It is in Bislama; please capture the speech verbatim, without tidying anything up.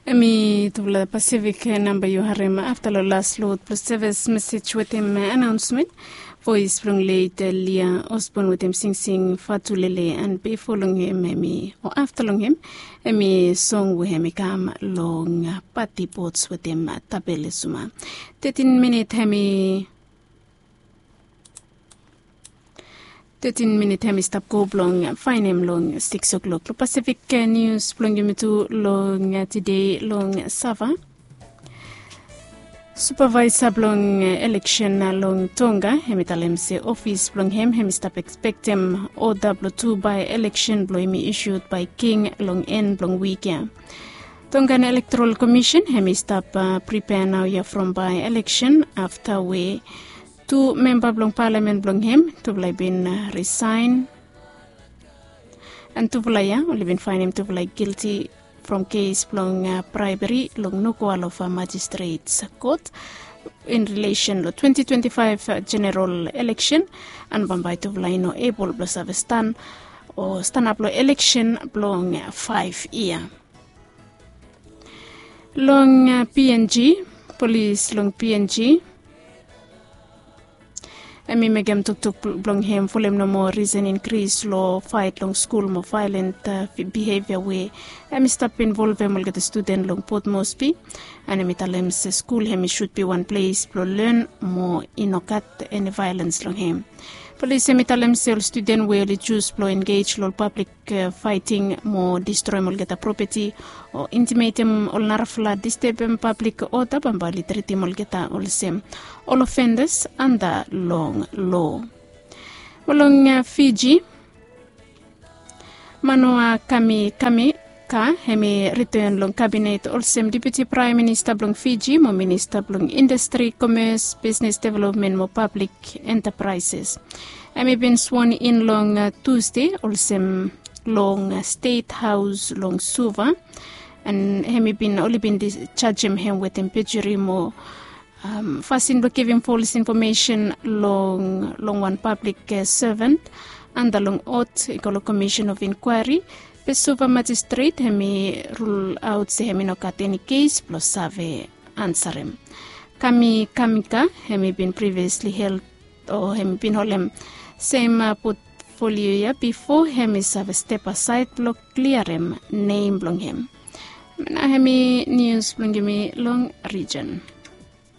Em i tufala Pasifik namba yu harem afta long las lot blong sevis mesej wetem anaonsmen. Voes blong let Lia Osbon wetem singsing Fatulele, and bifo long hem em i o afta long hem em i song we em i kam long Pati Bots wetem Tabele Suma. Tetin minit em i tetin minit em i stap go blong faenem long siks o'klok long Pasifik nius blong yumi tu long tide long Sava. Supavaesa blong eleksen long Tonga em i talem se ofis blong hem em i stap ekspektem oda blong tu bae eleksen blong em i isud bae king long en blong wik ya. Tongan Elektoral Komisen em i stap pripea naoia from bae eleksen afta we tu memba blong palamen blong hem tufala i bin risaen. And tufala ya oli bin faenem tufala i gilti from kes blong braeberi long Nuku'alofa Magistrates Kot in rilesen long twenti twenti faef jeneral eleksen. And bambae tufala i no ebol blong save stan o stanap long eleksen blong faef yia. Long PNG, polis long PNG em i mekem toktok blong hem folem nomo risen inkris long faet long skul mo vaelent bihevia we em i stap involvem olgeta studen long Port Moresby. And em i talem se skul em i sud bi wan ples blong len mo i no gat eni vaelens long hem. Polis em i talem se ol studen we oli jus blong engej long ol pablik faeting mo distroem olgeta propeti o intimetem ol narafala distebem pablik oda bambae oli tritim olgeta olsem ol ofendas anda long lo. Mo long Fiji, Manoa Kami Kami ka em i riten long kabinet olsem deputi praem minista blong Fiji mo minista blong indastri, komes, bisnes developmen mo pablik entapraeses. Em i bin swon in long Tusde olsem long Stet Haos long Suva. And em i bin oli bin jajem em wetem pejuri mo fasin blong givim folis infomesen long long wan pablik sevan anda long ot i go long komisen of inkwaeri. Be Suva majistret em i rulaot se em i no gat eni kes blong save ansarem. Kami Kamika em i bin priviosli hel o em i bin holem sem potfolio ya bifo em i save step asaed blong kliarem nem blong em. Nao em i nius blong yumi long rijen.